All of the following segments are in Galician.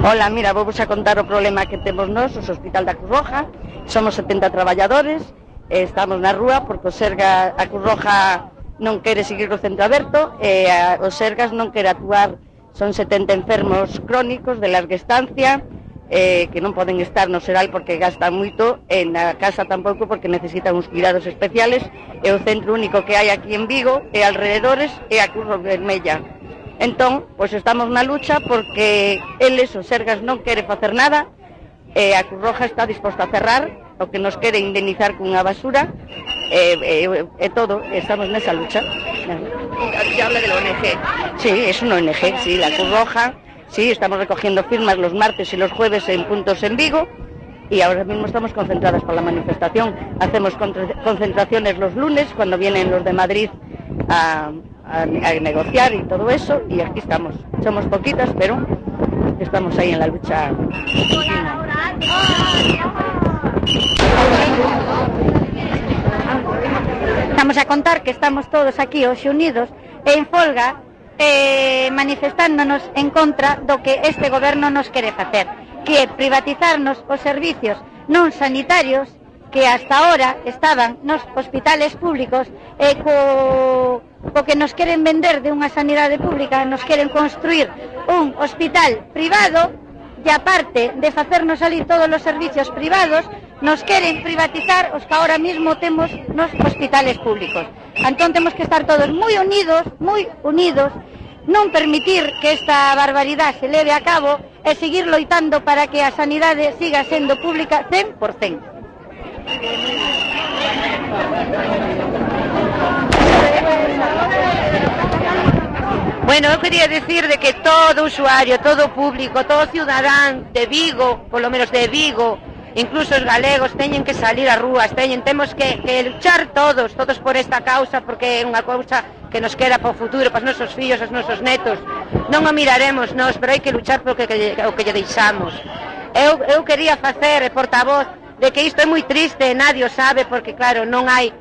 Ola, mira, vou vos a contar o problema que temos nós, os Hospital da Cruz Roja. Somos 70 traballadores, estamos na rúa porque o Serga, a Cruz Roja non quere seguir o centro aberto e os Sergas non quere actuar. Son 70 enfermos crónicos de larga estancia que non poden estar no Seral porque gastan moito, e na casa tampouco porque necesitan uns cuidados especiales, e o centro único que hai aquí en Vigo e alrededores é a Cruz Vermella. Entón, pois estamos na lucha porque eles, os Sergas, non quere facer nada e a Cruz Roja está disposta a cerrar, o que nos quere indemnizar cunha basura e todo, estamos nesa lucha. Se habla de la ONG. Sí, es una ONG, sí, la Cruz Roja, sí, estamos recogiendo firmas los martes y los jueves en puntos en Vigo y ahora mismo estamos concentradas para la manifestación. Hacemos concentraciones los lunes cuando vienen los de Madrid a negociar y todo eso, y aquí estamos. Somos poquitas, pero estamos ahí en la lucha. Estamos a contar que estamos todos aquí hoxe unidos e en folga manifestándonos en contra do que este goberno nos quere facer, que é privatizarnos os servicios non sanitarios que hasta ahora estaban nos hospitales públicos e co que nos queren vender de unha sanidade pública, nos queren construir un hospital privado e aparte de facernos salir todos os servicios privados, nos queren privatizar os que ahora mismo temos nos hospitales públicos. Entón temos que estar todos moi unidos, non permitir que esta barbaridade se leve a cabo e seguir loitando para que a sanidade siga sendo pública 100%. Bueno, eu quería decir de que todo usuario, todo público, todo ciudadán de Vigo, polo menos de Vigo, incluso os galegos, teñen que salir ás rúas, temos que luchar todos por esta causa, porque é unha causa que nos queda para o futuro, para os nosos fillos, os nosos netos. Non o miraremos nós, pero hai que luchar polo que lle deixamos. Eu quería facer portavoz de que isto é moi triste, nadie o sabe, porque claro, non hai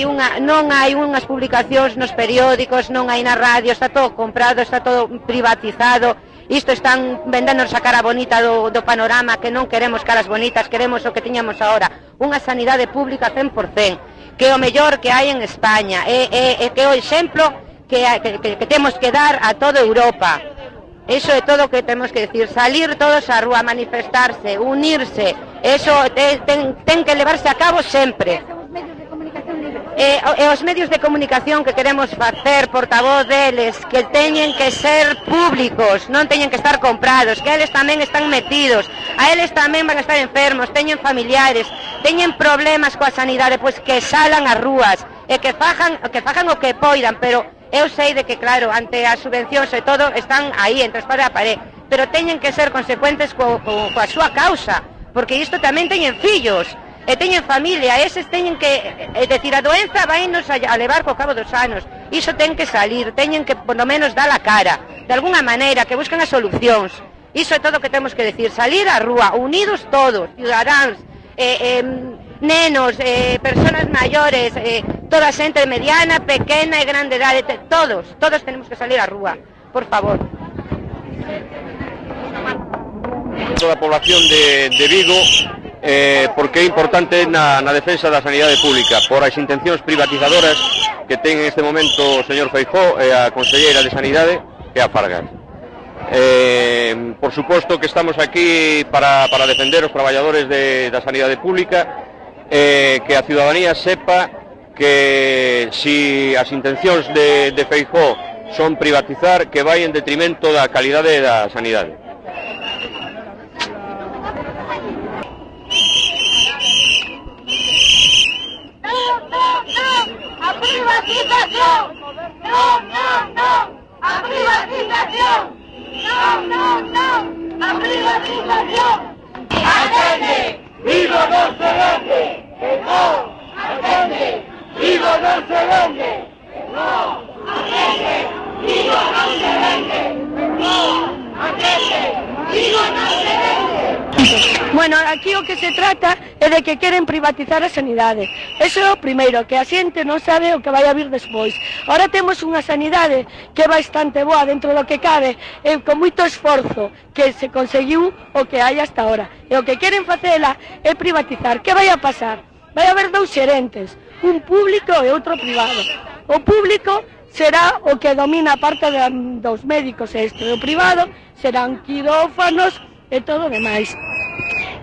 unhas publicacións nos periódicos, non hai na radio, está todo comprado, está todo privatizado. Isto están vendéndonos a cara bonita do panorama, que non queremos caras bonitas, queremos o que tiñamos ahora, unha sanidade pública 100%, que é o mellor que hai en España, que é o exemplo que temos que dar a toda Europa. Eso é todo o que temos que decir, salir todos á rúa, manifestarse, unirse, eso ten que levarse a cabo sempre. E os medios de comunicación que queremos facer portavoz deles, que teñen que ser públicos, non teñen que estar comprados, que eles tamén están metidos, a eles tamén van a estar enfermos, teñen familiares, teñen problemas coa sanidade, pois que salan ás rúas e que fagan o que poidan, pero eu sei de que claro, ante as subvencións e todo están aí entre espada e a pared, pero teñen que ser consecuentes coa súa causa, porque isto tamén teñen fillos e teñen familia, eses teñen que decir, a doenza vainos a levar co cabo dos anos, iso ten que salir, teñen que por lo menos dar a cara de alguna maneira, que busquen as solucións. Iso é todo o que temos que decir, salir á rúa, unidos todos, cidadáns, nenos, personas maiores, toda a xente mediana, pequena e grande idade, todos tenemos que salir á rúa, por favor. Toda a población de Vigo, porque é importante na defensa da sanidade pública, por as intencións privatizadoras que ten en este momento o señor Feijóo e a conselleira de Sanidade e a Fargas. Por suposto que estamos aquí para defender os traballadores da sanidade pública, que a ciudadanía sepa que si as intencións de Feijóo son privatizar, que vai en detrimento da calidade da sanidade. ¡A privatización! ¡No! ¡A privatización! ¡No! ¡A privatización! ¡Atende! ¡Vigo no se vende! ¡No! ¡Atende! ¡Vigo no se vende! ¡No! ¡Atende! ¡Vigo no se vende! ¡No! ¡Atende! ¡Vigo no se vende! Bueno, aquí o que se trata e de que queren privatizar a sanidade. Eso é o primeiro, que a xente non sabe o que vai a vir despois. Ahora temos unha sanidade que é bastante boa dentro do que cabe, e con moito esforzo que se conseguiu o que hai hasta ahora. E o que queren facela é privatizar. Que vai a pasar? Vai haber dous xerentes, un público e outro privado. O público será o que domina a parte dos médicos e isto, e o privado serán quirófanos e todo o demais.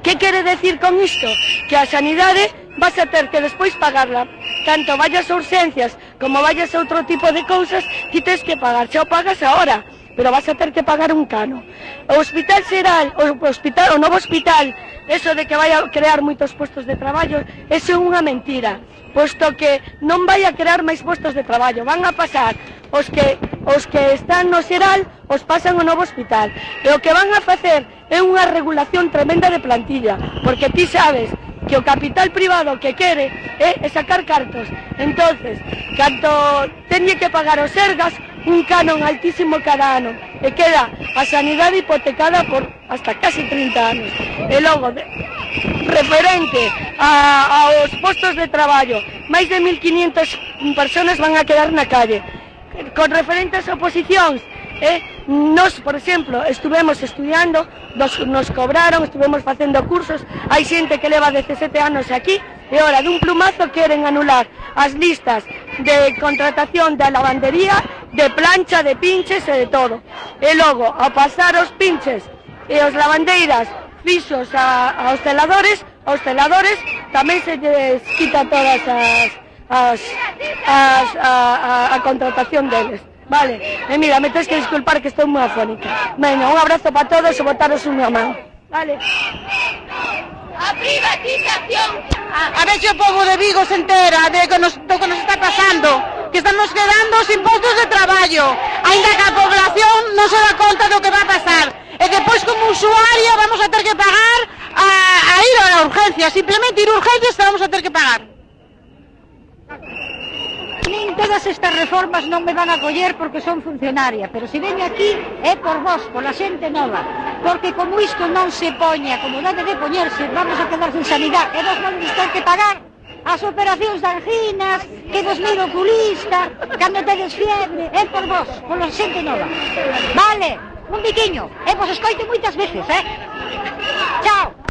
Que quere decir con isto? Que a sanidade vas a ter que despois pagarla. Tanto vayas a urgencias como vayas a outro tipo de cousas, ti tens que pagar. Xa o pagas ahora, pero vas a ter que pagar un cano. O hospital xeral, o novo hospital, eso de que vai a crear moitos postos de traballo, eso é unha mentira, posto que non vai a crear máis postos de traballo, van a pasar os que están no xeral, os pasan ao novo hospital, e o que van a facer é unha regulación tremenda de plantilla, porque ti sabes que o capital privado que quere é sacar cartos. Entonces, canto teñe que pagar os Sergas un canon altísimo cada ano, e queda a sanidade hipotecada por hasta casi 30 anos. E logo, referente aos postos de traballo, máis de 1.500 personas van a quedar na calle. Con referentes a oposicións, nos, por exemplo, estuvemos estudiando, nos cobraron, estuvemos facendo cursos, hai xente que leva 17 anos aquí, e ora dun plumazo queren anular as listas de contratación da lavandería, de plancha, de pinches e de todo. E logo, a pasar os pinches e os lavandeiras fixos aos celadores tamén se lles quita todas a contratación deles. Vale, e mira, me tens que disculpar que estou moi afónica. Veña, un abrazo para todos e botaros unha man. Vale. A privatización. A ver se o povo de Vigo se entera do que nos está pasando, que estamos quedando sin postos de traballo, aínda que a población non se dá conta do que va a pasar. E depois como usuario vamos a ter que pagar a ir a la urgencia, simplemente ir a urgencias que vamos a ter que pagar. Nin todas estas reformas non me van a coller porque son funcionaria, pero se veño aquí é por vos, pola xente nova, porque como isto non se poña como debe de poñerse, vamos a quedar sin sanidade, e vos non ter que pagar as operacións de anginas, que vos miro oculista, cando tedes fiebre, é por vos, pola xente nova. Vale, un biquiño, e vos escoito moitas veces, Chao.